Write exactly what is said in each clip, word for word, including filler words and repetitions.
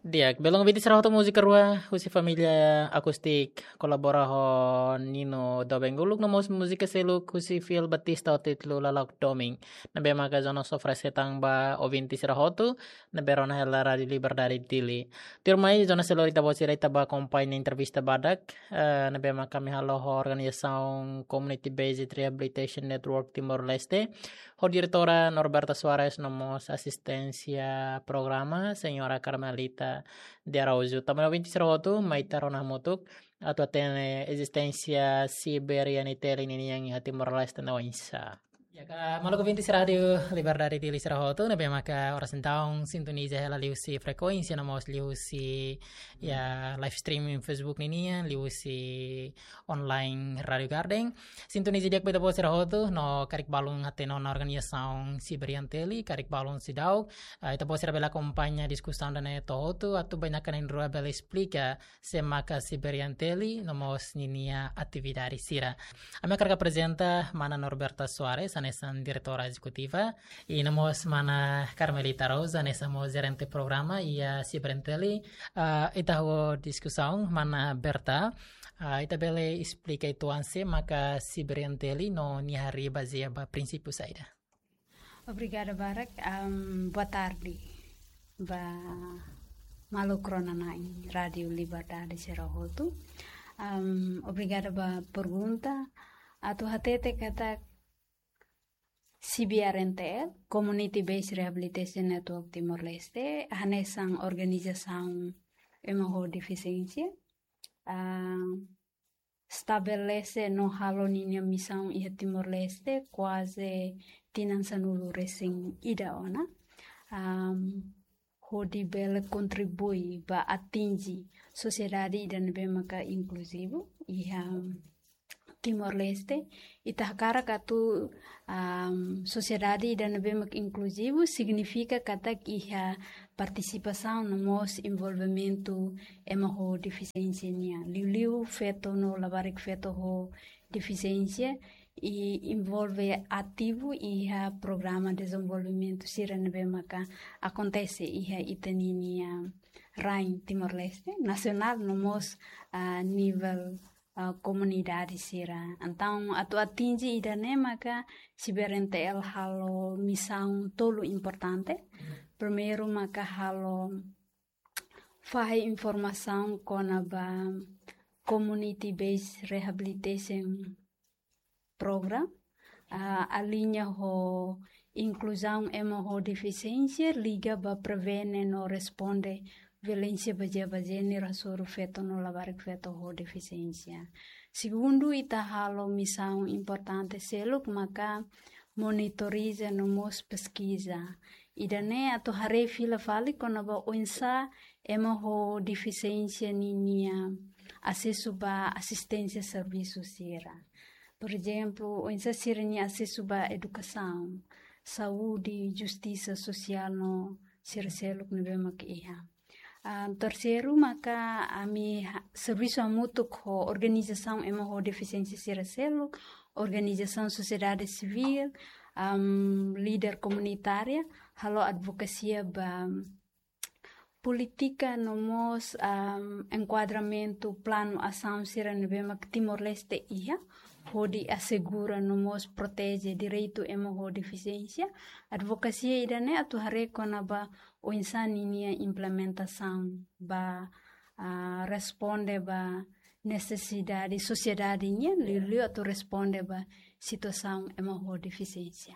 Di'ak, belun ouvinte sira hotu, múzika rua husi família Akustik kolabora ho Nino Dobenguluk, no mós múzika seluk husi Fiel Batista ho títulu Lalok Domin. Ne'ebé maka Jonas oferese tan ba ouvinte sira hotu ne'ebé rona hela Rádiu Liberdade Dili. Tuirmai, Jonas, seluk ita-boot sira, ita bá akompaña entrevista badak, eh, ne'ebé maka ami halo ho organizasaun Community Based Rehabilitation Network Timor-Leste, ho diretora Norberta Soares, no mós asistente programa, señora Carmelita de Araújo. Tanba ouvinte sira hotu, mai ita rona hamutuk atu hatene ezisténsia Siberian Tel ninian iha Timor-Leste ne'e oinsá. Ya, ka, maluk ouvinte sira Rádiu Liberdade Dili sira hotu, ne'ebé maka oras entaun sintoniza hela liuhusi frekuénsia, no mós liuhusi, ya, live streaming Facebook ninian, liuhusi online Rádiu Garden. Sintoniza di'ak ba ita-boot sira hotu, no karik balun hatene ona organizasaun Siberian Tel, karik balun seidauk, ah, ita-boot sira bele akompaña diskusaun ida-ne'e to'o hotu, atu bainaka na'in-rua bele esplika sé maka Siberian Tel, no mós ninia atividade sira. Ami hakarak aprezenta mana Norberta Soares, hanesan diretora ezekutiva, i no mós mana Carmelita Araújo, hanesan mós jerente programa iha Siberian Tel. Ah, ita hahú diskusaun, mana Berta, ah, ita bele esplika uitoan sé maka Siberian Tel no nia harii bazeia ba prinsípiu saida? Obrigada barak. Am, boa tarde ba maluk rona na'in Rádiu Liberdade sira hotu. Am, obrigada ba pergunta. Atu hatete katak Siberian Tel, Community Based Rehabilitation Network Timor-Leste, hanesan organizasaun ema ho defisiénsia, ah, estabelese no halo ninia misaun iha Timor-Leste kuaze tinan sanulu-resin-ida ona. Am, hodi bele kontribui ba atinji sosiedade ida ne'ebé maka inkluzivu iha Timor-Leste. Ita hakarak atu, am, sosiedade ida ne'ebé maka inkluzivu signifika katak iha partisipasaun no mós envolvimentu ema ho defisiénsia nian. Liuliu feto no labarik feto ho defisiénsia, i envolve ativu iha programa dezenvolvimentu sira ne'ebé maka akontese iha ita-nia rain Timor-Leste, nasionál no mós, ah, nivel, ah, komunidade sira. Entaun, atu atinji ida-ne'e maka Siberian Tel halo misaun tolu importante. Primeiru maka halo fahe informasaun kona-ba Community Based Rehabilitation Program, ah, aliña ho inkluzaun ema ho defisiénsia, liga ba prevene no responde violénsia bazeia ba jéneru hasoru feto no labarik feto ho defisiénsia. Segundu, ita halo misaun importante seluk maka monitoriza no mós peskiza. Ida-ne'e atu haree fila fali kona-ba oinsá ema ho defisiénsia ninia asesu ba asisténsia servisu sira. Por ezemplu, oinsá sira-nia asesu ba edukasaun, saúde, justisa sosiál no sira seluk ne'ebé mak iha. Ah, terseiru maka ami ha-, servisu hamutuk ho organizasaun ema ho defisiénsia sira seluk, organizasaun sosiedade sivíl, am, líder komunitária, halo advokasia ba polítika no mós, am, enkuadramentu planu asaun sira ne'ebé mak Timor-Leste iha, hodi asegura no mós proteje direitu ema ho defisiénsia. Advokasia ida-ne'e atu haree kona-ba oinsá ninia implementasaun ba, ah, responde ba nesesidade sosiedade nian, liuliu atu responde ba situasaun ema ho defisiénsia.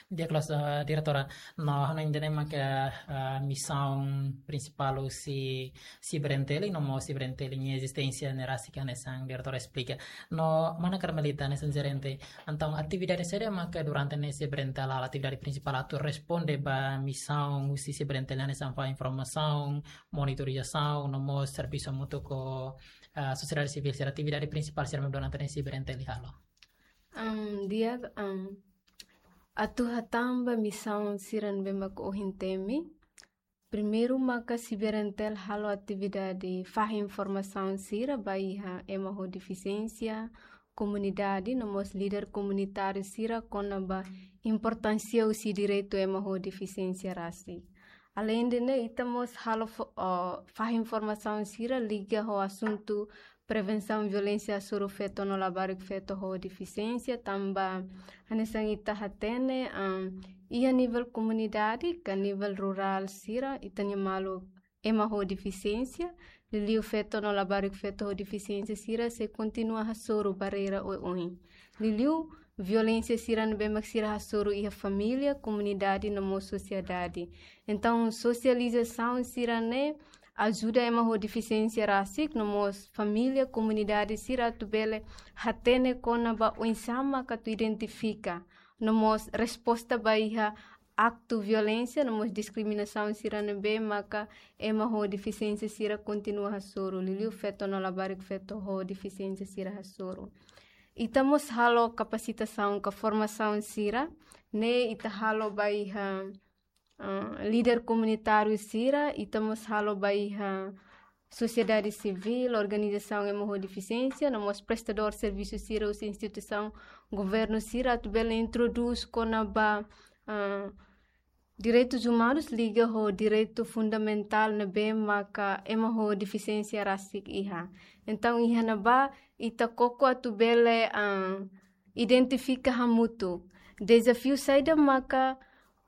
Di'ak loos, eh, diretora, no ha'u hanoin ida-ne'e maka, eh, misaun prinsipál husi Siberian Tel, no mós Siberian Tel nia ezisténsia ne'e rasik hanesan diretora esplika. No mana Carmelita hanesan jerente, entaun atividade saida maka durante ne'e Siberian Tel halo, atividade prinsipál atu responde ba misaun husi Siberian Tel hanesan fahe informasaun, monitorizasaun, no mós servisu hamutuk ho, ah, sosiedade sivíl sira, atividade prinsipál sira mak durante ne'e Siberian Tel halo? Am, di'ak, am, atu hatán ba misaun sira ne'ebé mak ohin temi. Primeiru maka Siberian Tel halo atividade fahe informasaun sira ba iha ema ho defisiénsia, komunidade, no mós líder komunitáriu sira kona-ba importánsia husi direitu ema ho defisiénsia rasik. Alende ne'e, ita mós halo fo-, ah, fahe informasaun sira liga ho asuntu prevensaun violénsia hasoru feto no labarik feto ho defisiénsia, tanba hanesan ita hatene, ah, iha nivel komunidade ka nivel rurál sira, ita-nia maluk ema ho defisiénsia, liuliu feto no labarik feto ho defisiénsia sira sei kontinua hasoru barreira oioin. Liuliu violénsia sira ne'ebé mak sira hasoru iha família, komunidade no mós sosiedade. Entaun, sosializasaun sira-ne'e ajuda ema ho defisiénsia rasik no mós família, komunidade sira atu bele hatene kona-ba oinsá mak atu identifika no mós resposta ba iha aktu violénsia no mós diskriminasaun sira ne'ebé maka ema ho defisiénsia sira kontinua hasoru, liuliu feto no labarik feto ho defisiénsia sira hasoru. Ita mós halo kapasitasaun ka formasaun sira, ne'e ita halo ba iha, ah, líder komunitáriu sira, ita mós halo ba iha sosiedade sivíl, organizasaun ema ho defisiénsia, no mós prestadór servisu sira husi instituisaun governu sira atu bele introdús kona-ba, ah, direitus umanus liga ho direitu fundamentál ne'ebé maka ema ho defisiénsia rasik iha. Entaun, iha ne'ebá ita koko atu bele, ah, identifika hamutuk dezafiu saida maka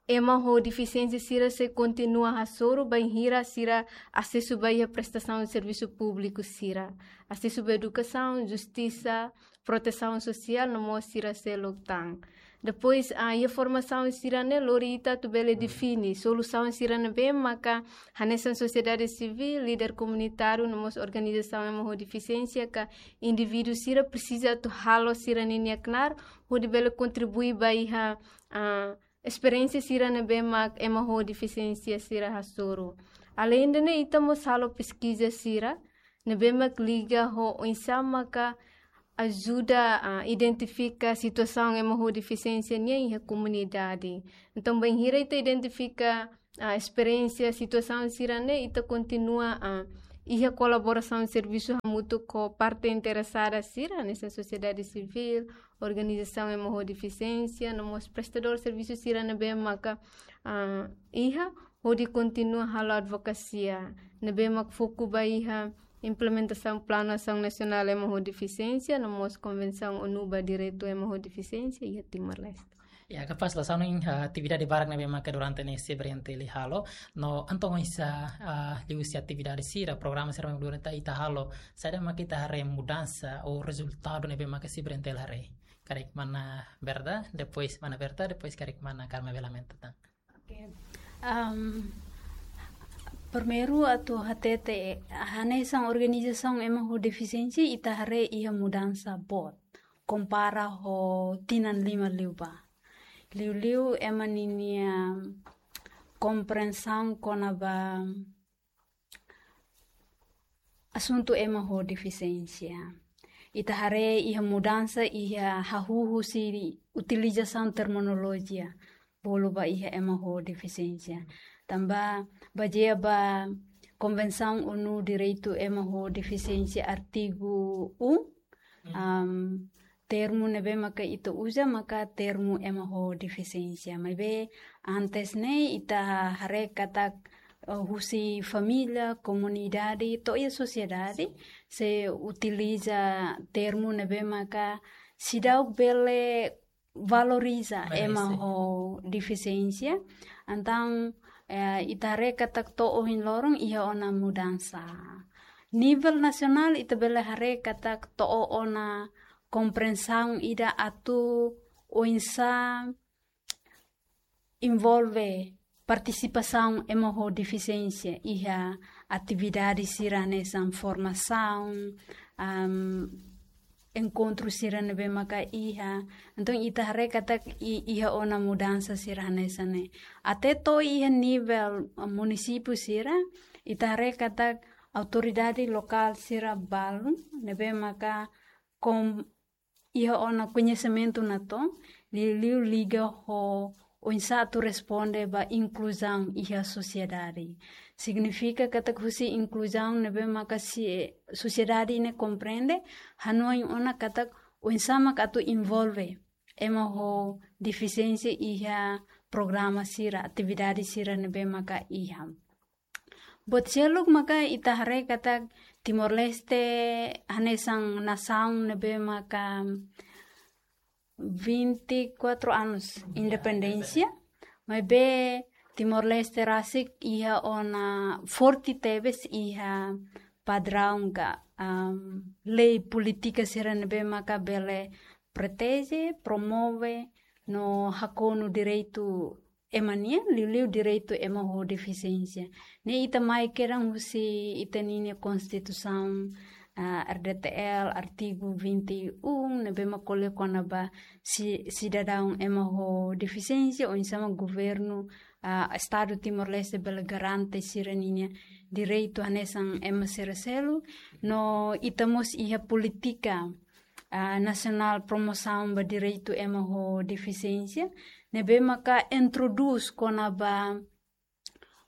ema ho defisiénsia sira sei kontinua hasoru bainhira sira asesu ba iha prestasaun servisu públiku sira, asesu ba edukasaun, justisa, protesaun sosiál no mós sira seluk tan. Depois, ah, iha formasaun sira-ne'e lori ita atu bele define solusaun sira ne'ebé maka hanesan sosiedade sivíl, líder komunitáriu no mós organizasaun ema ho defisiénsia ka indivíduu sira presiza atu halo sira-ninia knaar hodi bele kontribui ba iha, ah, esperiénsia sira ne'ebé mak ema ho defisiénsia sira hasoru. Alende ne'e, ita mós halo peskiza sira ne'ebé mak liga ho oinsá maka ajuda, ah, identifika situasaun ema ho defisiénsia nian iha komunidade. Entaun, bainhira ita identifika, ah, esperiénsia, situasaun sira-ne'e, ita kontinua, ah, iha kolaborasaun servisu hamutuk ho parte interesada sira, hanesan sosiedade sivíl, organizasaun ema ho defisiénsia, no mós prestadór servisu sira ne'ebé maka, ah, iha, hodi kontinua halo advokasia ne'ebé mak foku ba iha implementasaun Planu Asaun Nasionál Ema ho Defisiénsia, no mós Konvensaun ONU ba Direitu Ema ho Defisiénsia iha Timor-Leste. Ya, kapás, la sanu in, ah, atividade barak ne'ebé maka durante ne'e CBRN-TL halo, no entaun oinsá, ah, liuhusi atividade sira, programa sira durante ita halo, saida maka ita haree mudansa ou rezultadu ne'ebé maka CBRN-TL haree? Karik mana Berta, depois mana Berta, depois karik mana Carmen Belamenta tan. Oke. Am, primeiru atu hatete, hanesan organizasaun ema ho defisiénsia ita haree iha mudansa boot kompara ho tinan lima liubá. Liuliu ema ninia komprensaun kona-ba asuntu ema ho defisiénsia. Ita haree iha mudansa iha hahú husi utilizasaun terminolojia bolu ba iha ema ho defisiénsia. Tanba bazeia ba Konvensaun ONU Direitu Ema ho Defisiénsia artigu um, am, termu ne'ebé maka ita uza maka termu ema ho defisiénsia. Maibé antes ne'e ita haree katak, eh, husi família, komunidade, to'o iha sosiedade, sei utiliza termu ne'ebé maka seidauk bele valoriza ema ho defisiénsia. Entaun, eh, ita haree katak to'o ohin loron iha ona mudansa. Nivel nasionál ita bele haree katak to'o ona komprensaun ida atu oinsá envolve partisipasaun ema ho defisiénsia iha atividade sira hanesan formasaun, am, enkontru sira ne'ebé maka iha. Entaun ita haree katak i-, iha ona mudansa sira hanesan ne'e. Até to'o iha nivel, ah, munisípiu sira, ita haree katak autoridade lokál sira balun ne'ebé maka kom-, iha ona koñesimentu natoon, liuliu liga ho oinsá atu responde ba inkluzaun iha sosiedade. Signifika katak husi inkluzaun ne'ebé maka si-, sosiedade ne'e komprende, hanoin ona katak oinsá maka atu envolve ema ho defisiénsia iha programa sira, atividade sira ne'ebé maka iha. Buat seluk maka ita haree katak Timor-Leste hanesan nasaun ne'ebé maka vinte e quatro anos independénsia, maibé Timor-Leste rasik iha ona forte tebes iha padraun ka, am, lei polítika sira ne'ebé maka bele proteje, promove, no hakonu direitu ema nian, liuliu direitu ema ho defisiénsia. Ne'e ita mai kedan husi ita-nia Konstituisaun, ah, R D T L, artigu vinte e um, ne'ebé mak ko'alia kona-ba si-, sidadaun ema ho defisiénsia, oinsá mak governu, ah, Estadu Timor-Leste bele garante sira-ninia direitu hanesan ema sira seluk, no ita mós iha polítika, ah, nasionál promosaun ba direitu ema ho defisiénsia, ne'ebé maka introdús kona-ba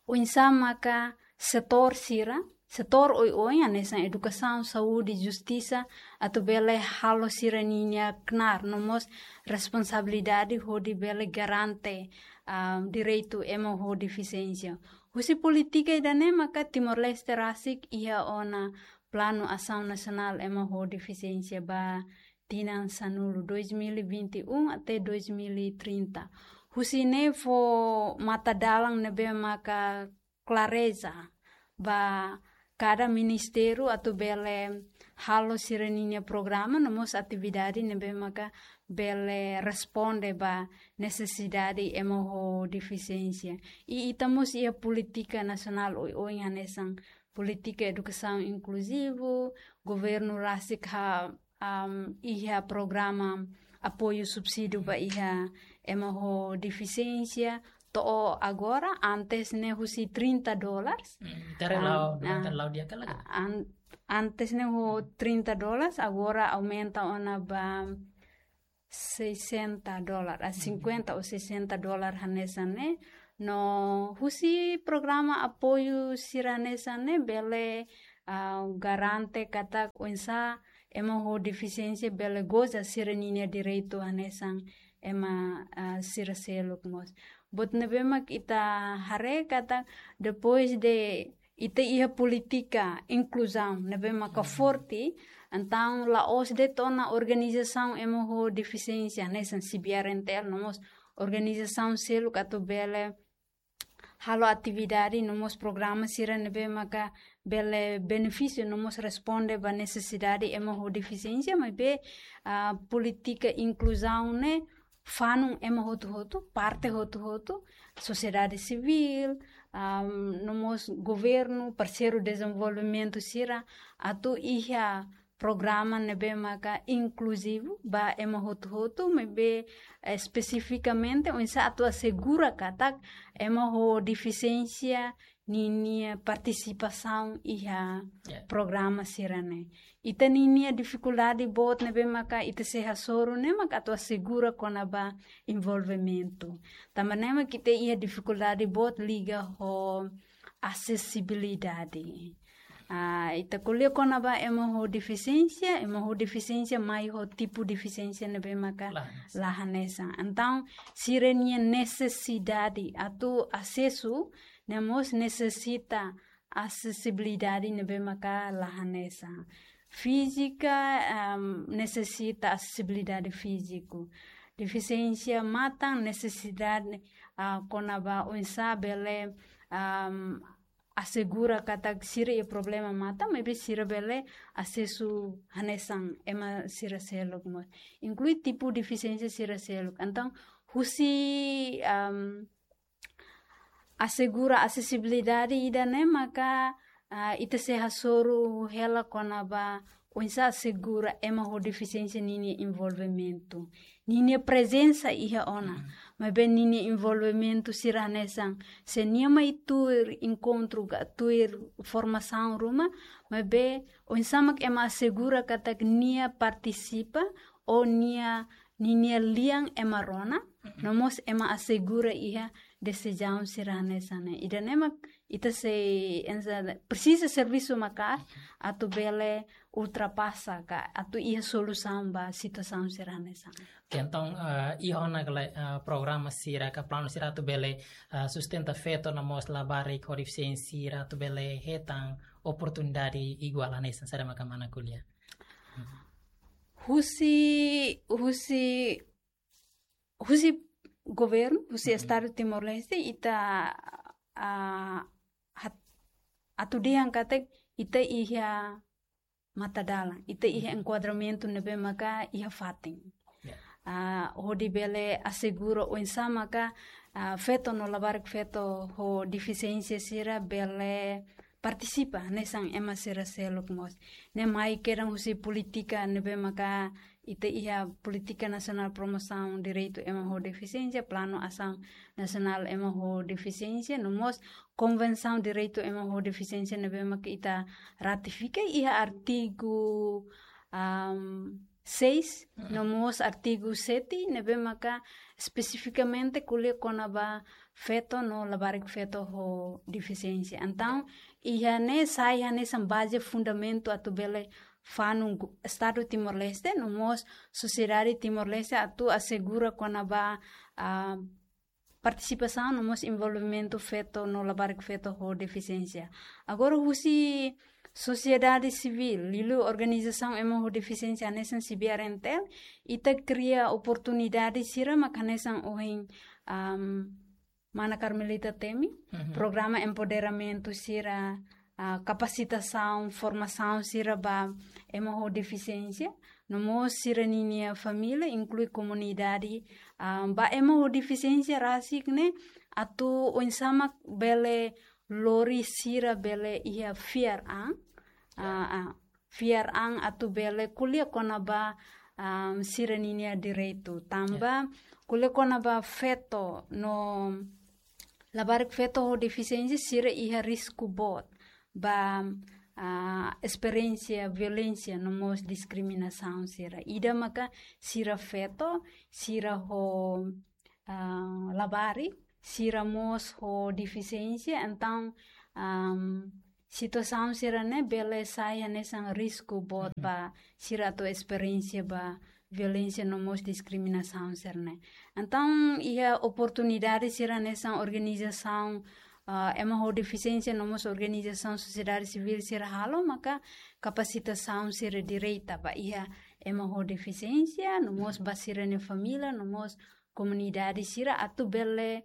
oinsá maka setór sira, setór oioin, hanesan edukasaun, saúde, justisa, atu bele halo sira-ninia knaar, no mós responsabilidade hodi bele garante, ah, direitu ema ho defisiénsia. Husi polítika ida-ne'e maka Timor-Leste rasik iha ona Planu Asaun Nasionál Ema ho Defisiénsia ba tinan sanulu, dois mil e vinte e um até dois mil e trinta. Husi ne'e fó matadalan ne'ebé maka klareza ba kada ministériu atu bele halo sira-ninia programa, no mós atividade ne'ebé maka bele responde ba nesesidade ema ho defisiénsia. I ita mós iha polítika nasionál oioin hanesan polítika edukasaun inkluzivu, governu rasik ha, am, iha programa apoiu subsídiu ba iha ema ho defisiénsia, to'o agora, antes ne'e husi trinta dólares. Hmm, tere Ah, lau, ah, tere lau dia kala. An-, antes ne'e ho trinta dólares, agora aumenta ona ba sessenta dólar, ah, cinquenta ou sessenta dólar hanesan ne'e. No husi programa apoiu sira hanesan ne'e bele, ah, garante katak oinsá ema ho defisiénsia bele goza sira-ninia direitu hanesan ema, ah, sira seluk mós. Buat ne'ebé mak ita haree katak depois de ita iha polítika inkluzaun ne'ebé maka forte, entaun la'ós de'it ona organizasaun ema ho defisiénsia, hanesan C B R N T L, no mós organizasaun seluk atu bele halo atividade, no mós programa sira ne'ebé maka bele benefísiu, no mós responde ba nesesidade ema ho defisiénsia, maibé, ah, polítika inkluzaun ne'e fanun ema hotu-hotu, parte hotu-hotu, sosiedade sivíl, am, no mós governu, parseiru dezenvolvimentu sira, atu iha programa ne'ebé maka inkluzivu ba ema hotu-hotu, maibé, eh, espesifikamente oinsá atu asegura katak ema ho defisiénsia ninia partisipasaun iha Ya. programa sira-ne'e. Ita ninia difikuldade boot ne'ebé maka ita sei hasoru ne'e maka atu asegura kona-ba envolvimentu. Tanba ne'e maka ita iha difikuldade boot liga ho asesibilidade. Ah, ita ko'alia kona-ba ema ho defisiénsia, ema ho defisiénsia mai ho tipu defisiénsia ne'ebé maka La hanesan. la hanesan. Entaun, sira-nia nesesidade atu asesu, ne'e mós nesesita asesibilidade ne'ebé maka la hanesan. Fízika, am, nesesita asesibilidade fíziku. Defisiénsia matan nesesidade, ah, kona-ba oinsá bele, am, asegura katak sira iha problema matan, maibé sira bele asesu hanesan ema sira seluk mós. Inklui tipu defisiénsia sira seluk. Entaun, husi, am, asegura asesibilidade ida-ne'e maka, ah, ita sei hasoru hela kona-ba oinsá asegura ema ho defisiénsia ninia envolvimentu. Ninia prezensa iha ona. Mm. Maibé ninia envolvimentu sira hanesan. Se nia mai tuir enkontru ka tuir formasaun ruma, maibé oinsá mak ema asegura katak nia partisipa ou nia, ninia lian ema rona, Mhm. no mós ema asegura iha desizaun sira hanesan ne'e. Ida-ne'e mak ita sei ensa presiza servisu maka'as atu bele ultrapasa ka atu iha solusaun ba situasaun sira hanesan. Oke, entaun, eh, iha ona kala, eh, programa sira ka planu sira atu bele, eh, sustenta feto no mós labarik ho defisiénsia sira atu bele hetan oportunidade iguál hanesan, saida maka mana ko'alia? Husi, husi, husi governu, husi Estadu Timor-Leste, ita, ah, hat-, atu dehan katak ita iha matadalan, ita iha enkuadramentu ne'ebé maka iha fatin. Ya. Ah, hodi bele asegura oinsá maka, ah, feto no labarik feto ho defisiénsia sira bele partisipa hanesan ema sira seluk mós. Ne'e mai kedan husi polítika ne'ebé maka ita iha Polítika Nasionál Promosaun Direitu Ema ho Defisiénsia, Planu Asaun Nasionál Ema ho Defisiénsia, no mós Konvensaun Direitu Ema ho Defisiénsia ne'ebé maka ita ratifika iha artigu, am, seis, no mós artigu sete, ne'ebé maka espesifikamente ko'alia kona-ba feto no labarik feto ho defisiénsia. Entaun, iha ne'e sai hanesan baze fundamentu atu bele fanun gu-, Estadu Timor-Leste, no mós sosiedade Timor-Leste atu asegura kona-ba, ah, partisipasaun no mós envolvimentu feto no labarik feto ho defisiénsia. Agora, husi sosiedade sivíl, liuliu organizasaun ema ho defisiénsia hanesan CBRNTL, ita kria oportunidade sira mak hanesan ohin, am, Mana Carmelita temi, programa empoderamentu sira, ah, kapasitasaun, formasaun sira ba ema ho defisiénsia, no mós sira-ninia família, inklui komunidade, ah, ba ema ho defisiénsia rasik ne'e, atu oinsá mak bele lori sira bele iha fiar an, ah, ah, fiar an atu bele ko'alia kona-ba, ah, sira-ninia direitu. Tanba ko'alia kona-ba feto no labarik feto ho defisiénsia sira iha risku boot ba, ah, esperiénsia violénsia no mós diskriminasaun sira. Ida maka sira feto, sira ho, ah, labarik, sira mós ho defisiénsia, entaun, am, situasaun sira-ne'e bele sai hanesan risku boot ba sira atu esperiénsia ba violénsia no mós diskriminasaun sira-ne'e. Entaun, iha oportunidade sira hanesan organizasaun, ah, ema ho defisiénsia no mós organizasaun sosiedade sivíl sira halo, maka kapasitasaun sira direta ba iha ema ho defisiénsia, no mós ba sira-nia família, no mós komunidade sira atu bele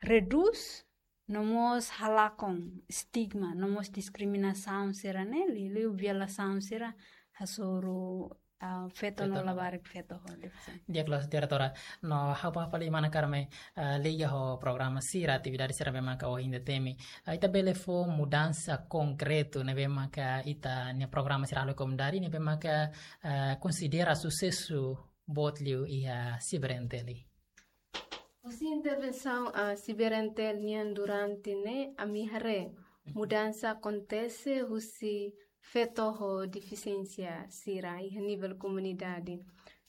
redús, no mós halakon estigma, no mós diskriminasaun sira-ne'e, liuliu violasaun sira hasoru, ah, feto no labarik feto ho defisiénsia. Di'ak loos, diretora. No, ha'u bá fali Mana Carmen, ah, liga ho programa sira, atividade sira ne'ebé maka ohin ita temi. Ah, ita bele fó mudansa konkretu ne'ebé maka ita-nia programa sira halo iha komunidade, ne'ebé maka, ah, konsidera susesu boot liu iha CBRNTL. Husi intervensaun, ah, CBRNTL nian durante ne'e, ami haree mudansa akontese husi feto ho defisiénsia sira iha nivel komunidade.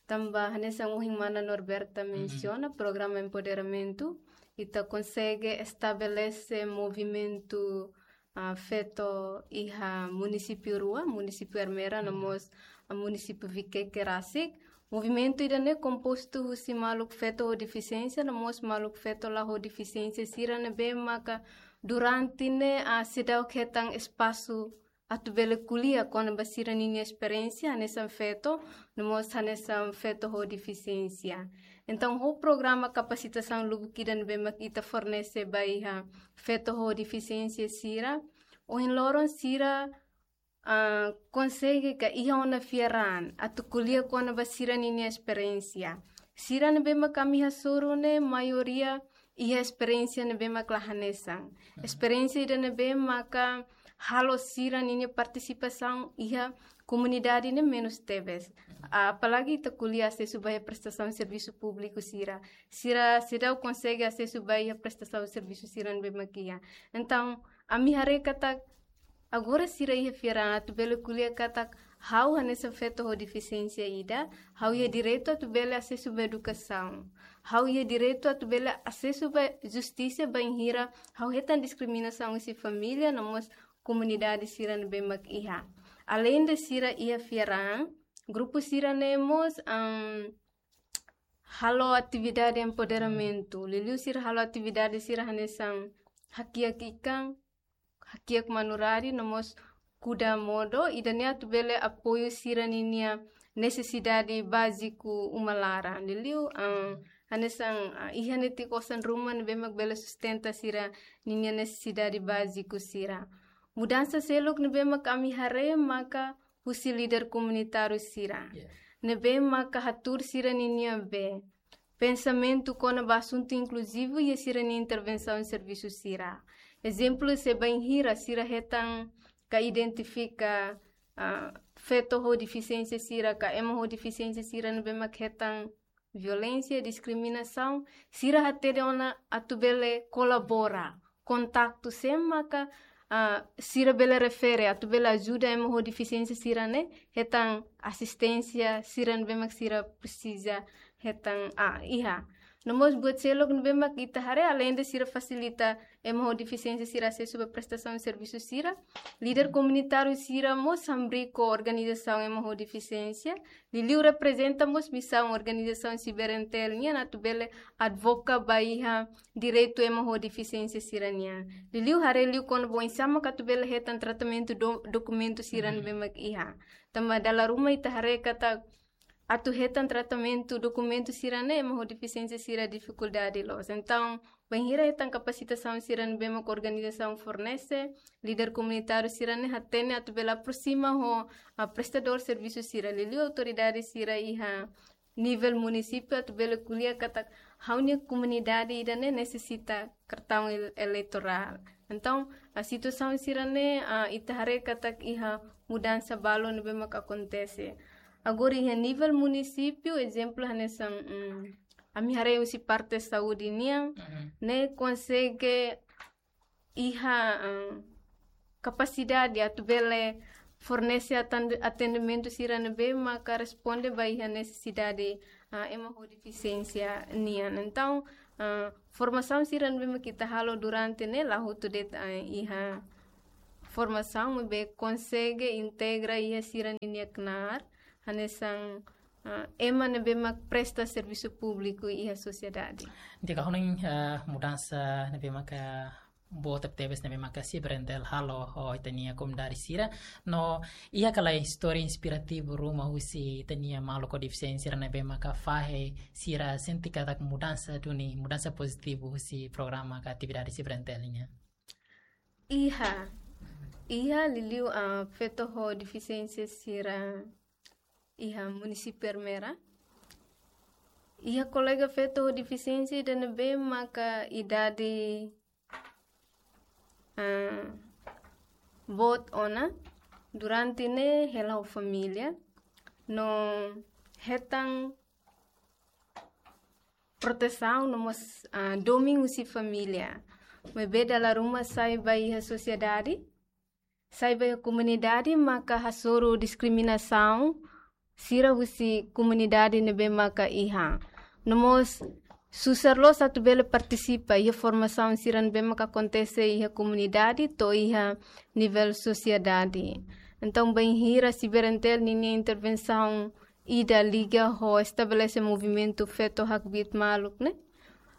Tanba hanesan ohin Mana Norberta mensiona, programa empoderamentu, ita konsege estabelese movimentu, ah, feto iha munisípiu rua, munisípiu Ermera, no mós, ah, munisípiu Viqueque rasik. Movimentu ida-ne'e kompostu husi maluk feto ho defisiénsia, no mós maluk feto la ho defisiénsia sira ne'ebé maka durante ne'e, ah, seidauk hetan espasu atu bele ko'alia kona-ba sira-ninia esperiénsia hanesan feto, no mós hanesan feto ho defisiénsia. Entaun, ho programa kapasitasaun lubuk ida ne'ebé mak ita fornese ba iha feto ho defisiénsia sira, ohin loron sira, ah, konsege ka iha ona fiar an atu ko'alia kona-ba sira-ninia esperiénsia. Sira ne'ebé mak ami hasoru ne'e maioria iha esperiénsia ne'ebé mak la hanesan. Esperiénsia ida ne'ebé maka halo sira-ninia partisipasaun iha komunidade ne'e menus tebes. Apalagi ita ko'alia asesu ba iha prestasaun servisu públiku sira. Sira seidauk konsege asesu ba iha prestasaun servisu sira ne'ebé mak iha. Entaun, ami haree katak agora sira iha fiar an atu bele ko'alia katak ha'u hanesan feto ho defisiénsia ida, ha'u iha direitu atu bele asesu ba edukasaun. ha'u iha direitu atu bele asesu ba justisa bainhira ha'u hetan diskriminasaun husi família no mós komunidade sira ne'ebé mak iha. Alende sira iha fiar an, grupu sira-ne'e mós, am, halo atividade empoderamentu. Liuliu sira halo atividade sira hanesan hakiak ikan, hakiak manu-rari no mós kuda modo, ida-ne'e atu bele apoiu sira ninia nesesidade báziku uma laran. Liuliu, ah, hanesan, ah, iha netik osan ruma ne'ebé mak bele sustenta sira ninia nesesidade báziku sira. Mudansa seluk ne'ebé mak ami haree maka husi líder komunitáriu sira. Yeah. Ne'ebé maka hatuur sira ninia be pensamentu kona-ba asuntu inkluzivu iha sira-nia intervensaun servisu sira. Ezemplu, se bainhira sira hetan ka identifika, ah, feto ho defisiénsia sira, ka ema ho defisiénsia sira ne'ebé mak hetan violénsia, diskriminasaun, sira hatene ona atu bele kolabora, kontaktu sé maka, ah, sira bele refere, atu bele ajuda ema ho defisiénsia sira-ne'e hetan asisténsia sira ne'ebé mak sira presiza hetan, ah, iha. No mós buat seluk ne'ebé mak ita haree, alende sira fasilita ema ho defisiénsia sira asesu ba prestasaun servisu sira, líder komunitáriu sira mós hamriik ho organizasaun ema ho defisiénsia, liuliu reprezenta mós misaun organizasaun Siberentel nian atu bele advoka ba iha direitu ema ho defisiénsia sira-nian. Liuliu haree liu kona-ba oinsá maka atu bele hetan tratamentu do-, dokumentu sira ne'ebé mak iha. Tanba dala ruma ita haree katak atu hetan tratamentu dokumentu sira-ne'e ema ho defisiénsia sira difikuldade loos. Entaun, bainhira hetan kapasitasaun sira ne'ebé mak organizasaun fornese, líder komunitáriu sira-ne'e hatene atu bele aprosima ho, ah, prestadór servisu sira, liuliu autoridade sira iha nivel munisípiu atu bele ko'alia katak ha'u-nia komunidade ida-ne'e nesesita kartaun el-, eleitorál. Entaun, ah, situasaun sira-ne'e, ah, ita haree katak iha mudansa balu ne'ebé mak akontese. Agora iha nivel munisípiu, ezemplu hanesan, mm, ami haree husi parte saúde nian, ne'e konsege iha, ah, kapasidade atu bele fornese atan-, atendimentu sira ne'ebé maka responde ba iha nesesidade, ah, ema ho defisiénsia nian. Entaun, ah, formasaun sira ne'ebé mak ita halo durante ne'e la hotu de'it, ah, iha formasaun maibé konsege integra iha sira ninia knaar, hanesan, ah, ema ne'ebé mak presta servisu públiku iha sosiedade. Di'ak, ha'u hanoin, ah, mudansa ne'ebé maka boot tebes ne'ebé maka Siberentel halo ho ita-nia komunidade sira. No iha ka lae istória inspirativu ruma husi ita-nia maluk ho defisiénsia sira ne'ebé maka fahe sira sente katak mudansa duni, mudansa pozitivu husi programa ka atividade Siberentel nian? Iha, iha liuliu, ah, feto ho defisiénsia sira iha munisípiu Ermera. Iha kolega feto ho defisiénsia ida ne'ebé maka idade, ah, boot ona, durante ne'e hela ho família, no hetan protesaun no mós, ah, domin husi família. Maibé dala ruma sai ba iha sosiedade, sai ba iha komunidade maka hasoru diskriminasaun sira husi komunidade ne'ebé maka iha. No mós susar loos atu bele partisipa iha formasaun sira ne'ebé maka akontese iha komunidade to'o iha nivel sosiedade. Entaun, bainhira Siberentel ninia intervensaun ida liga ho estabelese movimentu feto hakbiit maluk ne'e,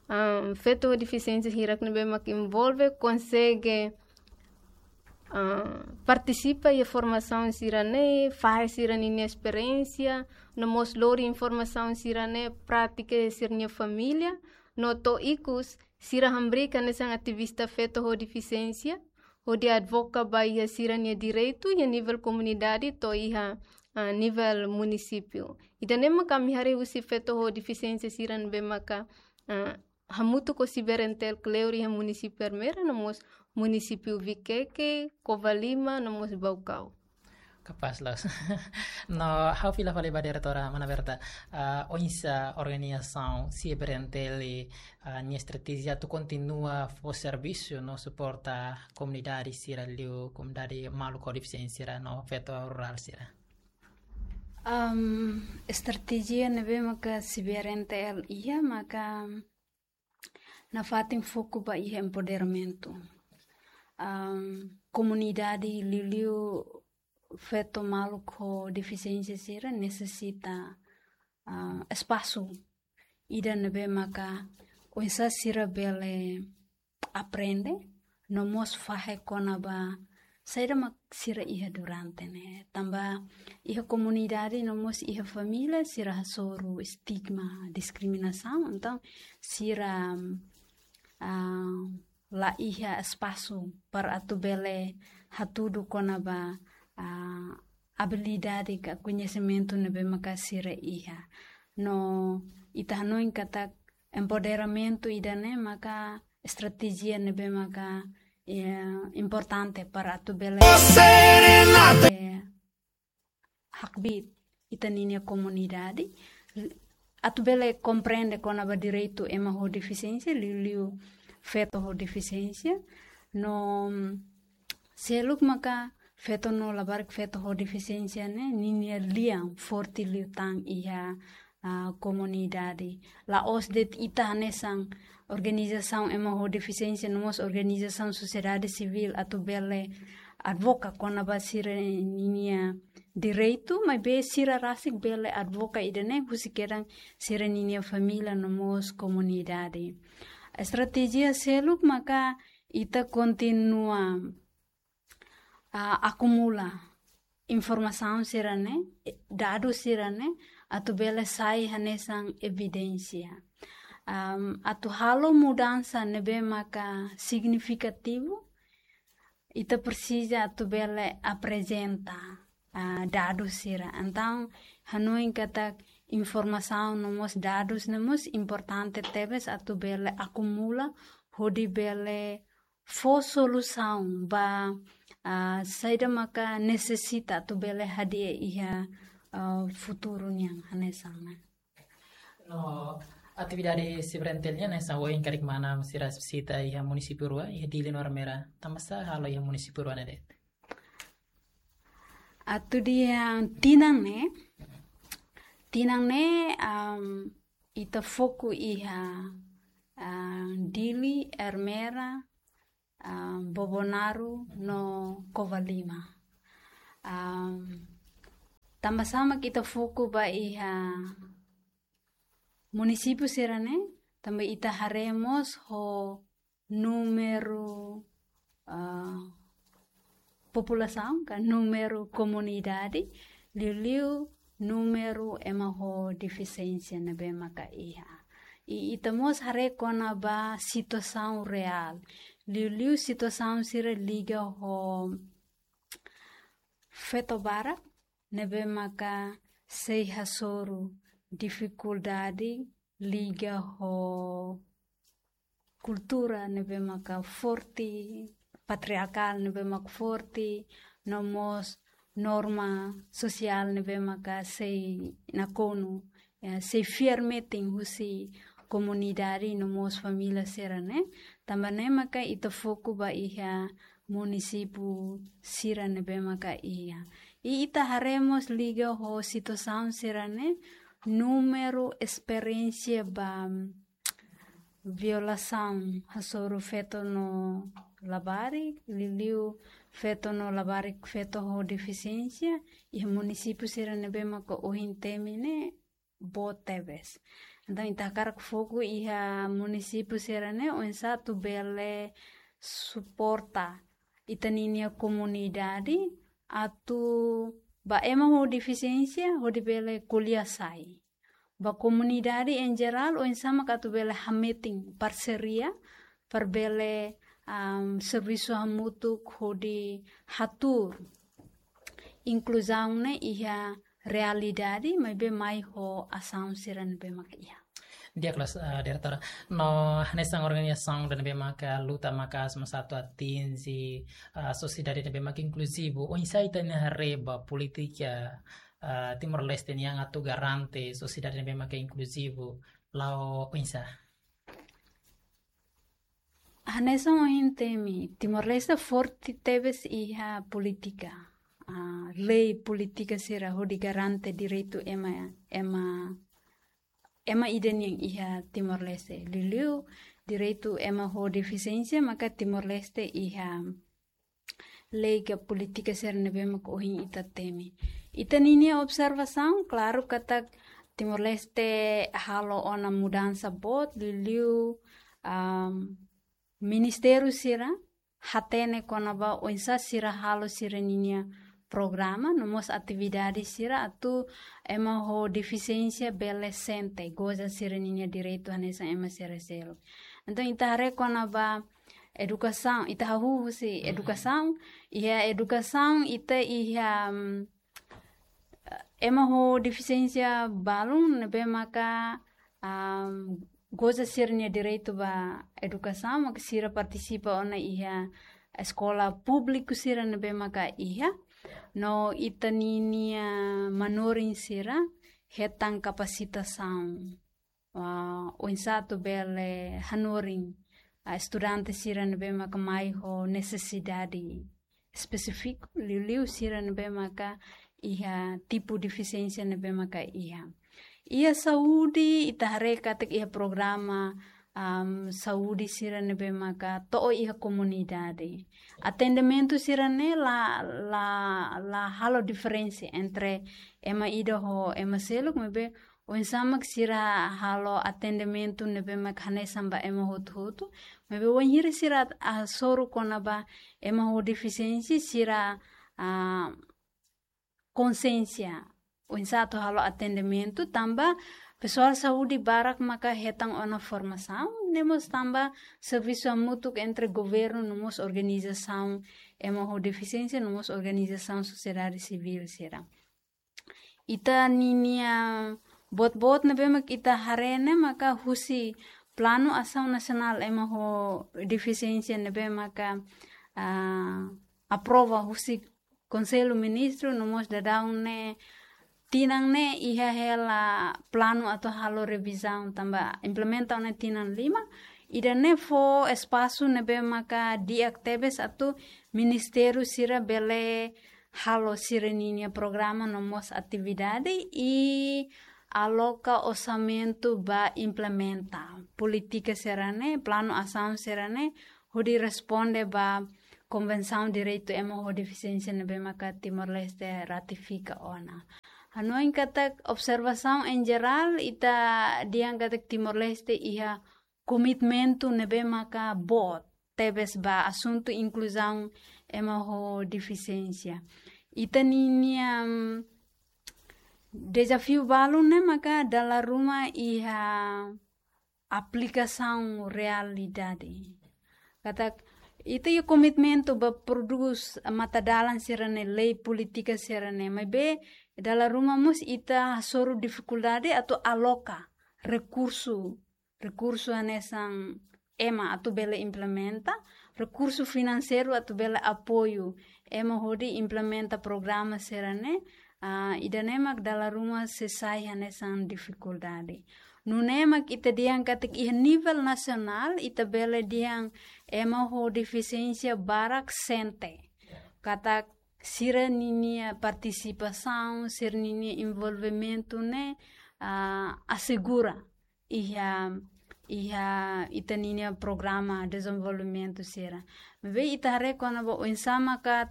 ah, feto ho defisiénsia hirak ne'ebé mak envolve konsege, ah, partisipa iha formasaun sira-ne'e, fahe sira ninia esperiénsia, no mós lori informasaun sira-ne'e prátika iha sira-nia família, no to'o ikus sira hamriik hanesan ativista feto ho defisiénsia, hodi advoka ba iha sira-nia direitu iha nivel komunidade to'o iha, ah, nivel munisípiu. Ida-ne'e maka ami haree husi feto ho defisiénsia sira ne'ebé maka, ah, hamutuk ho Siberentel kleur iha munisípiu Ermera, no mós munisípiu Vikeke, Covalima, no mós Baucau. Kapás loos. No, ha'u fila fali ba diretora mana Berta, ah, oinsá organizasaun Siberentel, ah, nia estratéjia atu kontinua fó servisu no suporta komunidade sira liu, komunidade maluk ho defisiénsia sira no feto rurál sira. Am, estratéjia ne'ebé maka CVRNTL iha maka nafatin foku ba iha empoderamentu. Am, komunidade liuliu feto maluk ho defisiénsia sira nesesita, ah, espasu ida ne'ebé maka oinsá sira bele aprende, no mós fahe kona-ba saida mak sira iha durante ne'e. Tanba iha komunidade no mós iha família sira hasoru estigma, diskriminasaun, entaun sira, ah, la iha espasu para atu bele hatudu kona-ba, ah, abilidade ka koñesimentu ne'ebé maka sira iha. No ita hanoin katak empoderamentu ida-ne'e maka estratéjia ne'ebé maka, eh, importante para atu bele, eh, hakbiit ita-ninia komunidade, atu bele komprende kona-ba direitu ema ho defisiénsia, liuliu feto ho defisiénsia, no seluk maka feto no labarik feto ho defisiénsia ne'e ninia lian forte liután iha, ah, komunidade. La'ós de'it ita hanesan organizasaun ema ho defisiénsia no mós organizasaun sosiedade sivíl atu bele advoka kona-ba sira-ninia direitu, maibé sira rasik bele advoka ida-ne'e husi kedan sira-ninia família no mós komunidade. Estratéjia seluk maka ita kontinua, ah, akumula informasaun sira-ne'e, dadus sira-ne'e, atu bele sai hanesan evidénsia. Am, atu halo mudansa ne'ebé maka signifikativu, ita presiza atu bele aprezenta, ah, dadus sira. Entaun, hanoin katak informasaun no mós dadus ne'e mós importante tebes atu bele akumula, hodi bele fó solusaun ba, ah, saida maka nesesita atu bele hadi'a iha, ah, futuru nian hanesan ne'e. No atividade CVRNTL nian hanesan ohin karik mana sira vizita iha munisípiu rua, iha Dili no Ermera. Tanbasá halo iha munisípiu rua ne'e de'it? Atu iha tinan ne'e, tinan ne'e, am, ita foku iha, ah, Dili, Ermera, ah, Bobonaro no Covalima. Am, tanbasá mak ita foku ba iha munisípiu sira-ne'e, tanba ita haree mós ho númeru, ah, populasaun ka númeru komunidade, liuliu númeru ema ho defisiénsia ne'ebé maka iha. I ita mós haree kona-ba situasaun reál, liuliu situasaun sira liga ho feto barak ne'ebé maka sei hasoru difikuldade liga ho kultura ne'ebé maka forte, patriarkál ne'ebé maka forte, no mós norma sosiál ne'ebé maka sei nakonu, eh, sei fiar metin husi komunidade no mós família sira-ne'e. Tanba ne'e maka ita foku ba iha munisípiu sira ne'ebé maka iha. I ita haree mós liga ho situasaun sira-ne'e, númeru esperiénsia ba violasaun hasoru feto no labarik, liuliu feto no labarik feto ho defisiénsia, iha munisípiu sira ne'ebé maka ohin temi ne'e boot tebes. Entaun, ita hakarak foku iha munisípiu sira-ne'e, oinsá atu bele suporta ita-ninia komunidade atu ba ema ho defisiénsia, hodi bele ko'alia sai. Ba komunidade em geral, oinsá mak atu bele hametin parseria, para bele, am, servisu hamutuk hodi hatuur inkluzaun ne'e iha realidade, maibé mai ho asaun sira ne'ebé mak iha. Di'ak loos, eh, diretora. No hanesan organizasaun ida ne'ebé maka luta maka'as mós atu atinje, eh, sosiedade ne'ebé maka inkluzivu. Oinsá ita-nia haree ba polítika, eh, Timor-Leste nian atu garante sosiedade ne'ebé maka inkluzivu, la'o oinsá? Hanesan ohin temi, Timor-Leste forte tebes iha polítika. ah, lei polítika sira hodi garante direitu ema, ema, ema ida nian iha Timor-Leste. Liuliu direitu ema ho defisiénsia maka Timor-Leste iha lei ka polítika sira ne'ebé maka ohin ita temi. Ita ninia observasaun, klaru katak Timor-Leste halo ona mudansa boot, liuliu, am, ministériu sira hatene kona-ba oinsá sira halo sira ninia programa, no mós atividade sira atu ema ho defisiénsia bele sente, goza sira ninia direitu hanesan ema sira seluk. Entaun, ita haree kona-ba edukasaun, ita hahú husi edukasaun, iha edukasaun ita iha, mm, ema ho defisiénsia balun ne'ebé maka, am, goza sira-nia direitu ba edukasaun, maka sira partisipa ona iha eskola públiku sira ne'ebé maka iha. No ita ninia manorin sira hetan kapasitasaun, ah, oinsá atu bele hanorin, ah, estudante sira ne'ebé maka mai ho nesesidade espesífiku, liuliu sira ne'ebé maka iha tipu defisiénsia ne'ebé maka iha. Iha saúde, ita haree katak iha programa, am, saúde sira ne'ebé maka to'o iha komunidade. Atendimentu sira-ne'e la, la, la halo diferensa entre ema ida ho ema seluk, maibé oinsá mak sira halo atendimentu ne'ebé mak hanesan ba ema hotu-hotu. Maibé wainhira sira hasoru kona-ba ema ho defisiénsia, sira, ah, konsiénsia oinsá atu halo atendimentu, tanba pesoál saúde barak maka hetan ona formasaun, no mós tanba servisu hamutuk entre governu no mós organizasaun ema ho defisiénsia, no mós organizasaun sosiedade sivíl sira. Ita ninia boot-boot ne'ebé mak ita haree ne'e maka husi Planu Asaun Nasionál ema ho defisiénsia ne'ebé maka, ah, aprova husi Konsellu Ministru, no mós daudaun ne'e, tinan ne'e iha hela planu atu halo revizaun tanba implementa ona tinan lima, ida-ne'e fó espasu ne'ebé maka di'ak tebes atu ministériu sira bele halo sira ninia programa no mós atividade i aloka orsamentu ba implementa polítika sira-ne'e, planu asaun sira-ne'e, hodi responde ba Konvensaun Direitu Ema ho Defisiénsia ne'ebé maka Timor-Leste ratifika ona. Hanoin katak observasaun en jerál, ita dehan katak Timor-Leste iha komitmentu ne'ebé maka boot tebes ba asuntu inkluzaun ema ho defisiénsia. Ita ninia, mm, dezafiu balun ne'e maka dala ruma iha aplikasaun realidade. Katak ita iha komitmentu ba prodús matadalan sira-ne'e, lei polítika sira-ne'e, maibé dala ruma mós ita hasoru difikuldade atu aloka rekursu, rekursu hanesan ema atu bele implementa, rekursu finanseiru atu bele apoiu ema hodi implementa programa sira-ne'e, ah, ida-ne'e mak dala ruma sei sai hanesan difikuldade. Nune'e mak ita dehan katak iha nivel nasionál, ita bele dehan ema ho defisiénsia barak sente katak sira ninia partisipasaun, sira ninia envolvimentu ne'e, ah, asegura iha, iha ita ninia programa dezenvolvimentu sira. Maibé ita haree kona-ba oinsá maka,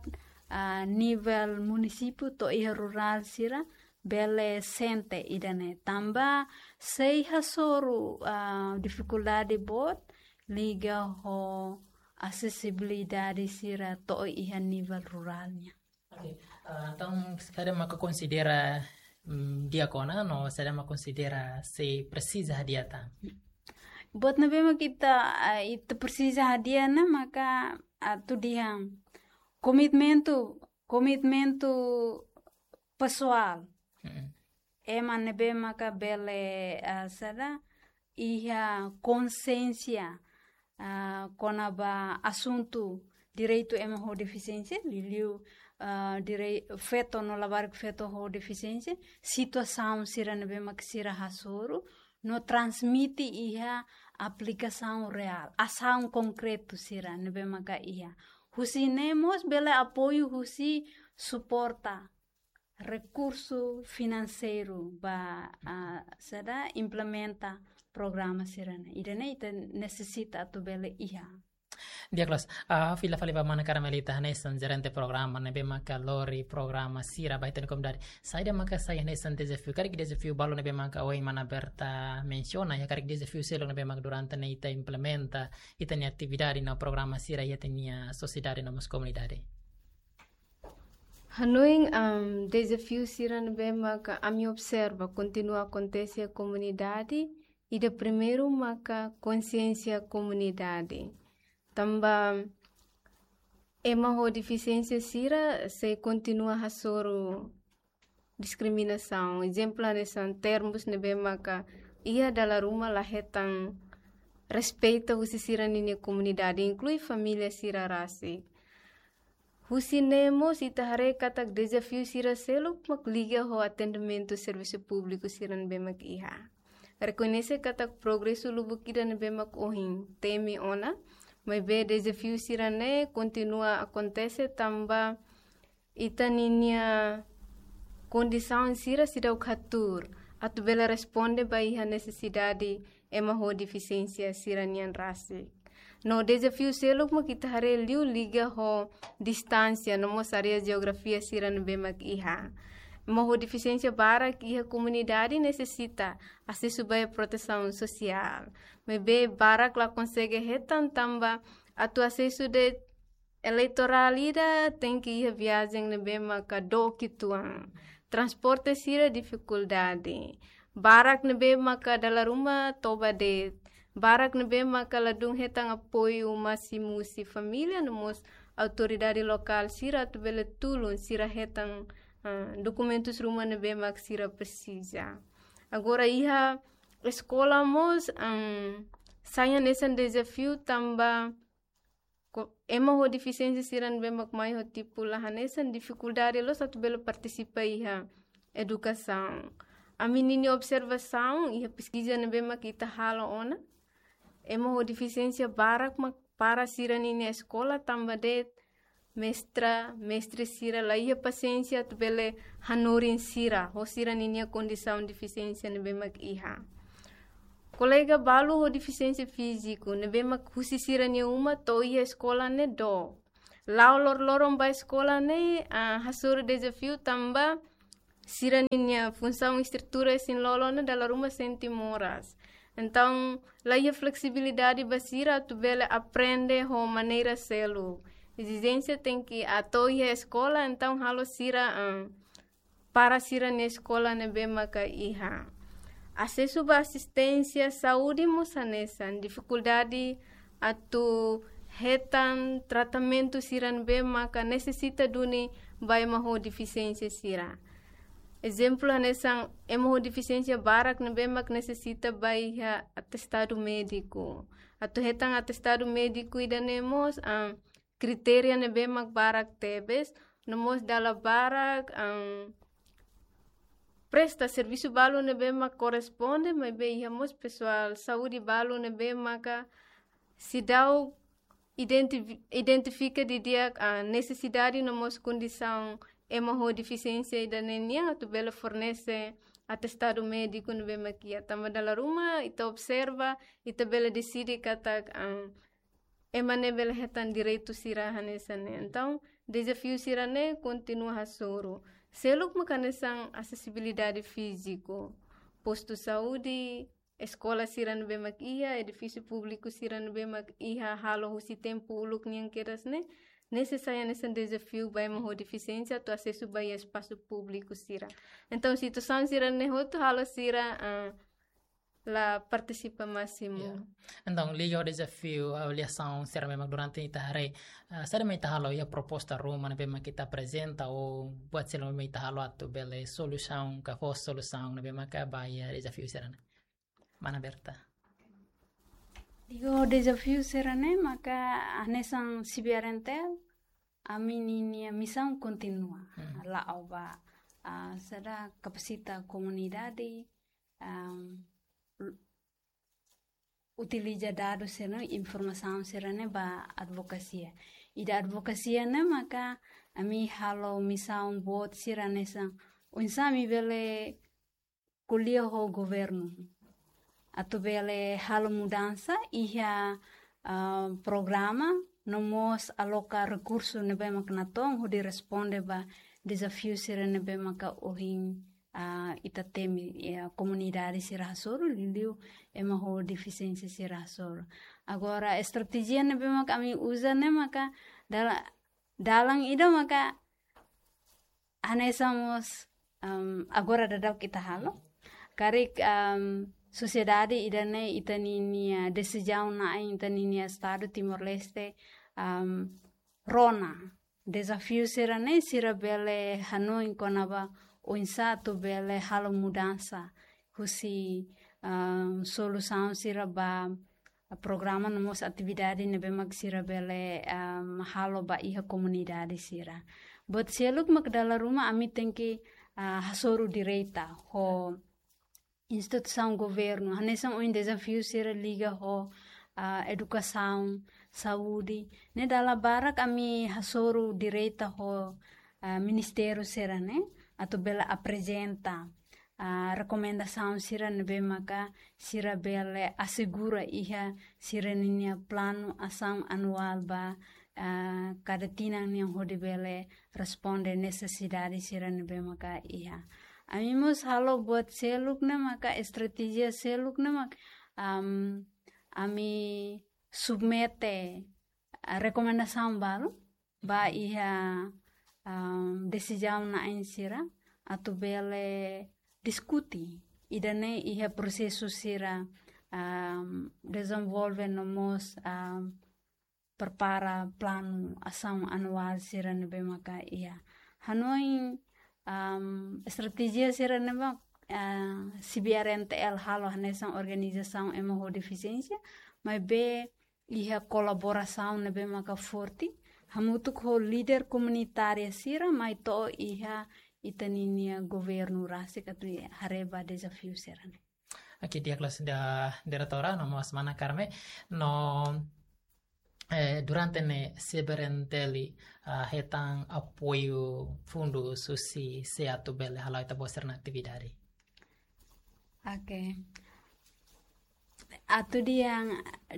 ah, nivel munisípiu to'o iha rurál sira bele sente ida-ne'e. Tanba sei hasoru, ah, difikuldade boot liga ho asesibilidade sira to'o iha nivel rurál nian. Oke, eh, entaun, saida maka konsidera, mm, di'ak ona, no saida maka konsidera sei presiza hadi'a tan? Buat ne'ebé mak ita, eh, ita presiza hadi'a ne'e maka, ah, atu dehan komitmentu, komitmentu pesoál. Mm-mm. Ema ne'ebé maka bele, ah, saida, iha konsiénsia, ah, kona-ba asuntu direitu ema ho defisiénsia, liuliu, ah, direi-, feto no labarik feto ho defisiénsia, situasaun sira ne'ebé mak sira hasoru, no transmite iha aplikasaun reál, asaun konkretu sira ne'ebé maka iha. Husi ne'e mós bele apoiu husi suporta rekursu finanseiru ba, ah, saida, implementa programa sira-ne'e. Ida-ne'e ita nesesita atu bele iha. Di'ak loos, ah, fila fali ba mana Carmelita hanesan jerente programa ne'ebé maka lori programa sira ba ita-nia komunidade. Saida maka sai hanesan dezafiu, karik dezafiu balu ne'ebé maka ohin mana Berta mensiona, iha karik dezafiu seluk ne'ebé maka durante ne'e ita implementa ita-nia atividade no programa sira iha ita-nia sosiedade no mós komunidade. Hanoin, am, dezafiu sira ne'ebé maka ami observa kontinua akontese iha komunidade, ida primeiru maka konsiénsia komunidade. Tanba ema ho defisiénsia sira sei kontinua hasoru diskriminasaun. Ezemplu hanesan termus ne'ebé maka iha dala ruma la hetan respeita husi sira-ninia komunidade, inklui família sira rasik. Husi ne'e mós ita haree katak dezafiu sira seluk mak liga ho atendimentu servisu públiku sira ne'ebé mak iha. Rekoñese katak progresu lubuk ida ne'ebé mak ohin temi ona, maibé dezafiu sira-ne'e kontinua akontese tanba ita-ninia kondisaun sira seidauk hatuur atu bele responde ba iha nesesidade ema ho defisiénsia sira-nian rasik. No dezafiu seluk mak ita haree liu liga ho distánsia no mós área jeografia sira ne'ebé mak iha. Ema ho defisiénsia barak iha komunidade nesesita asesu ba protesaun sosiál. Maibé barak la konsege hetan tanba atu asesu de'it eleitorál ida tenke iha viajen ne'ebé maka dook uitoan. Transporte sira difikuldade. Barak ne'ebé maka dala ruma toba de'it. Barak ne'ebé maka ladún hetan apoiu másimu husi família no mós autoridade lokál sira atu bele tulun sira hetan, ah, dokumentus ruma ne'ebé mak sira presiza. Agora iha eskola mós, am, sai hanesan dezafiu tanba ko-, ema ho defisiénsia sira ne'ebé mak mai ho tipu la hanesan difikuldade loos atu bele partisipa iha edukasaun. Ami-ninia observasaun iha peskiza ne'ebé mak ita halo ona, ema ho defisiénsia barak mak para sira-ninia eskola tanba de'it mestra, mestre sira la iha pasiénsia atu bele hanorin sira ho sira-ninia kondisaun defisiénsia ne'ebé mak iha. Kolega balu ho defisiénsia fíziku ne'ebé mak husi sira-nia uma to'o iha eskola ne'e dook. La'o loroloron ba eskola ne'e, ah, hasoru dezafiu tanba sira-ninia funsaun estrutura isin-lolon ne'e dala ruma sente moras. Entaun, la iha fleksibilidade ba sira atu bele aprende ho maneira seluk. Ezijénsia tenke atu iha eskola, entaun halo sira, ah, para sira-nia eskola ne'ebé maka iha. Asesu ba asisténsia saúde mós hanesan, difikuldade atu hetan tratamentu sira ne'ebé maka nesesita duni ba ema ho defisiénsia sira. Ezemplu hanesan ema ho defisiénsia barak ne'ebé mak nesesita ba iha atestadu médiku. Atu hetan atestadu médiku ida-ne'e mós, ah, kritéria ne'ebé mak barak tebes, no mós dala barak, am, presta servisu balu ne'ebé mak korresponde, maibé iha mós pesoál saúde balu ne'ebé maka seidauk identifi-, identifika didi'ak, ah, nesesidade no mós kondisaun ema ho defisiénsia ida-ne'e nian atu bele fornese atestadu médiku ne'ebé mak iha. Tanba dala ruma ita observa, ita bele deside katak, am, ema ne'e bele hetan direitu sira hanesan ne'e. Entaun, dezafiu sira-ne'e kontinua hasoru. Seluk mak hanesan asesibilidade fíziku, postu saúde, eskola sira ne'ebé mak iha, edifísiu públiku sira ne'ebé mak iha halo husi tempu uluk nian kedas ne'e, nesesáriu hanesan dezafiu ba ema ho defisiénsia atu asesu ba iha espasu públiku sira. Entaun, situasaun sira-ne'e hotu halo sira, ah, la partisipa másimu. Ya. Entaun, liga ho dezafiu avaliasaun sira ne'ebé mak durante ita haree, ah, saida mak ita halo iha proposta ruma ne'ebé mak ita aprezenta ou buat seluk ne'ebé mak ita halo atu bele solusaun ka fó solusaun ne'ebé maka ba iha dezafiu sira-ne'e. Mana Berta. Liga ho dezafiu sira-ne'e maka hanesan CBRNTL, ami-ninia misaun kontinua. Hmm. La'o ba, ah, saida, kapasita komunidade, am, l-, utiliza dadus sira-ne'e, informasaun sira-ne'e ba advokasia. Ida advokasia ne'e maka ami halo misaun boot sira hanesan oinsá ami bele ko'alia ho governu atu bele halo mudansa iha, ah, programa no mós aloka rekursu ne'ebé maka natoon hodi responde ba dezafiu sira ne'ebé maka ohin, ah, ita temi, ya, komunidade sira hasoru, liuliu ema ho defisiénsia sira hasoru. Agora, estratéjia ne'ebé maka ami uza ne'e maka dala-, dalan ida maka hanesan mós, em, agora daudaun ita halo. Karik, em, sosiedade ida-ne'e ita-ninia desizaun na'in ita-ninia Estadu Timor-Leste, em, rona. Dezafiu sira-ne'e sira bele hanoin kona-ba oinsá atu bele halo mudansa husi, em, solusaun sira ba programa no mós atividade ne'ebé mak sira bele, em, halo ba iha komunidade sira. Buat seluk mak dala ruma ami tenke, ah, hasoru direta ho instituisaun governu. Hanesan ohin dezafiu sira liga ho, ah, edukasaun, saúde. Ne'e dala barak ami hasoru direta ho, ah, ministériu sira-ne'e atu bele aprezenta, ah, rekomendasaun sira ne'ebé maka sira bele asegura iha sira-ninia planu asaun anuál ba, ah, kada tinan nian hodi bele responde nesesidade sira ne'ebé maka iha. Ami mós halo buat seluk ne'e maka estratéjia seluk ne'e maka, am, ami submete, ah, rekomendasaun balu ba iha, am, desizaun na'in sira atu bele diskute ida-ne'e iha prosesu sira, am, dezenvolve no mós, am, prepara planu asaun anuál sira ne'ebé maka iha. Hanoin, am, estratéjia sira ne'ebé, ah, C B R N T L halo hanesan organizasaun ema ho defisiénsia, maibé iha kolaborasaun ne'ebé maka forte hamutuk ho líder komunitária sira mai to'o iha ita-ninia governu rasik atu haree ba dezafiu sira-ne'e. Oke, di'ak loos, da, diretora, no mós mana Carme, no, eh, durante ne'e C B R N T L, ah, hetan apoiu fundus husi sé atu bele hala'o ita-boot sira-nia atividade? Oke. Atu dehan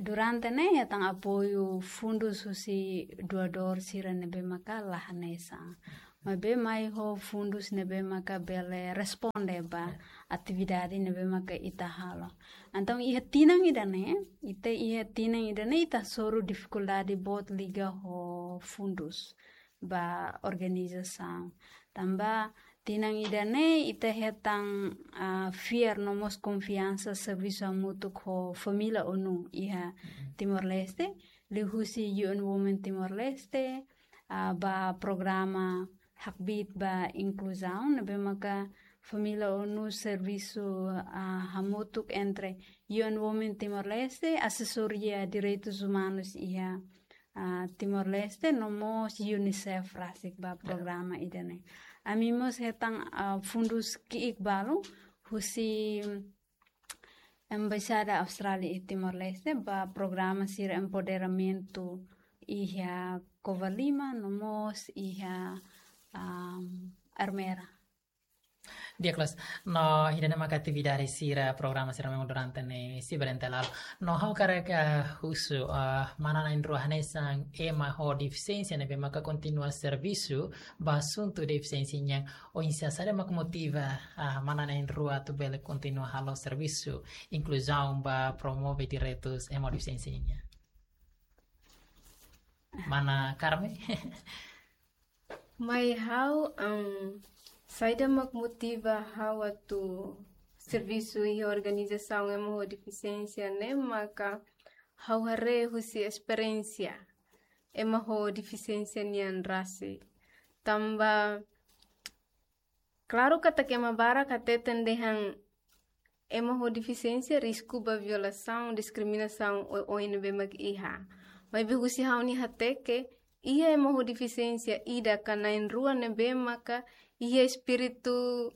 durante ne'e hetan apoiu fundus husi doadór sira ne'ebé maka la hanesan. Maibé mai ho fundus ne'ebé maka bele responde ba, ya, atividade ne'ebé maka ita halo. Entaun iha tinan ida-ne'e, ita iha tinan ida-ne'e ita hasoru difikuldade boot liga ho fundus ba organizasaun. Tanba tinan ida-ne'e ita hetan, ah, fiar no mós konfiansa servisu hamutuk ho família ONU iha, mhm, Timor-Leste, liuhusi U N Women Timor-Leste, ah, ba programa hakbiit ba inkluzaun, ne'ebé maka família ONU servisu, ah, hamutuk entre U N Women Timor-Leste, Asesoria Direitus Umanus iha, ah, Timor-Leste, no mós UNICEF rasik ba, ya, programa ida-ne'e. Ami mós hetan, ah, fundus ki'ik balu husi Embaixada Austrália iha Timor-Leste ba programa sira empoderamentu iha Covalima no mós iha, am, Ermera. Di'ak loos, no ida-ne'e maka atividade sira, programa sira memang durante ne'e C B R N T L halo. No ha'u hakarak, eh, husu, eh, mana na'in-rua hanesan ema ho defisiénsia ne'ebé maka kontinua servisu ba asuntu defisiénsia nian, oinsá, saida mak motiva, ah, mana na'in-rua atu bele kontinua halo servisu inkluzaun ba promove direitus ema ho defisiénsia nian? Mana Carme? Mai ha'u, em, saida mak motiva ha'u atu servisu iha organizasaun ema ho defisiénsia ne'e maka ha'u haree husi esperiénsia ema ho defisiénsia nian rasik. Tanba, klaru katak ema barak hateten dehan ema ho defisiénsia risku ba violasaun, diskriminasaun oioin ne'ebé mak iha. Maibé husi ha'u-nia hateke, iha ema ho defisiénsia ida ka na'in-rua ne'ebé maka iha espíritu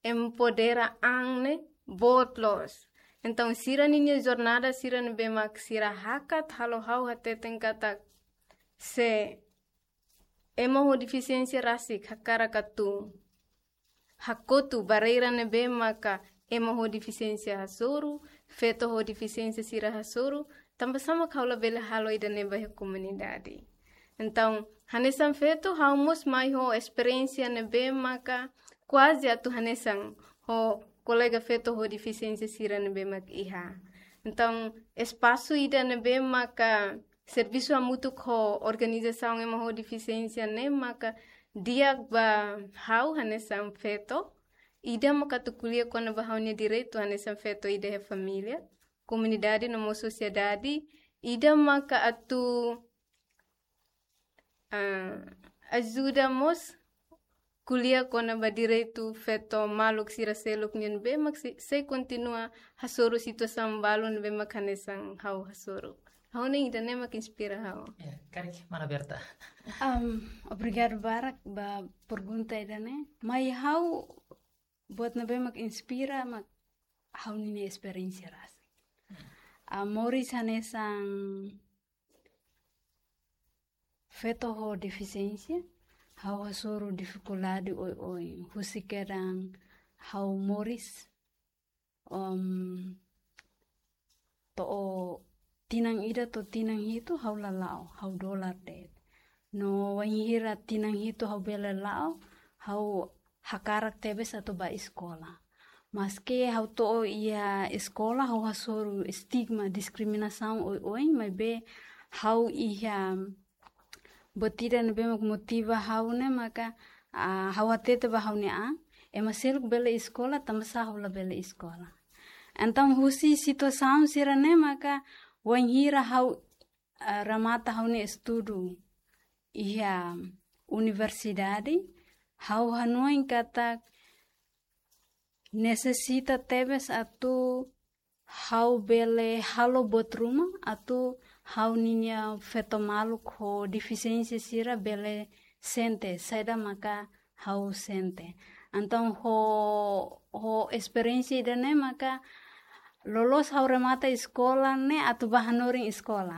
empodera an ne'e boot loos. Entaun sira-ninia jornada sira ne'ebé mak sira hakat halo ha'u hateten katak Se ema ho defisiénsia rasik hakarak atu hakotu barreira ne'ebé maka ema ho defisiénsia hasoru, feto ho defisiénsia sira hasoru, tanbasá mak ha'u labele halo ida-ne'e ba iha komunidade. Entaun, hanesan feto, ha'u mós mai ho esperiénsia ne'ebé maka kuaze atu hanesan ho kolega feto ho defisiénsia sira ne'ebé mak iha. Entaun, espasu ida ne'ebé maka servisu hamutuk ho organizasaun ema ho defisiénsia ne'e maka di'ak ba ha'u hanesan feto, ida maka atu ko'alia kona-ba ha'u-nia direitu hanesan feto ida iha família, komunidade no mós sosiedade, ida maka atu, ah, ajuda mós ko'alia kona-ba direitu feto maluk sira seluk nian ne'ebé mak sei, sei kontinua hasoru situasaun balu ne'ebé mak hanesan ha'u hasoru. Ha'u hanoin ida-ne'e mak inspira ha'u. Ya, karik mana Berta. Am, obrigadu barak ba pergunta ida-ne'e. Mai ha'u buat ne'ebé mak inspira mak ha'u-nia esperiénsia rasik. Ah, moris hanesan feto ho defisiénsia, ha'u hasoru difikuldade oioin. Husi kedan ha'u moris, um, to'o tinan ida to'o tinan hitu ha'u la la'o, ha'u dolar de'it. No wainhira tinan hitu ha'u bele la'o, ha'u hakarak tebes atu ba eskola. Maski ha'u to'o iha eskola, ha'u hasoru estigma, diskriminasaun oioin, maibé ha'u iha buat ida ne'ebé mak motiva ha'u ne'e maka, ah, ha'u hatete ba ha'u-nia an, ema seluk bele eskola, tanbasá ha'u labele eskola. Entaun husi situasaun sira-ne'e maka wainhira ha'u, ah, remata ha'u-nia estudu iha universidade, ha'u hanoin katak nesesita tebes atu ha'u bele halo buat ruma atu ha'u-nia feto maluk ho defisiénsia sira bele sente saida maka ha'u sente. Entaun ho, ho esperiénsia ida-ne'e maka loloos ha'u remata eskola ne'e atu ba hanorin eskola.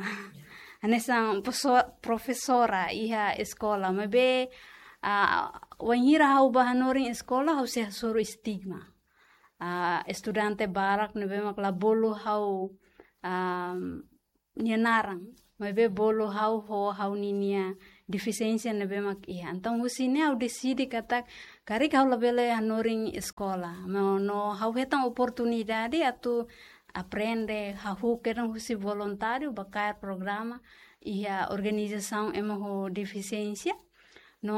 Hanesan profeso-, profesora iha eskola, maibé, ah, wainhira ha'u ba hanorin eskola, ha'u sei hasoru estigma. Ah, estudante barak ne'ebé mak la bolu ha'u, ah, nia naran, maibé bolu ha'u ho ha'u-nia defisiénsia ne'ebé mak iha. Entaun husi ne'e ha'u deside katak karik ha'u labele hanorin eskola. No, no ha'u hetan oportunidade atu aprende, hahú kedan husi voluntáriu ba kaer programa iha organizasaun ema ho defisiénsia.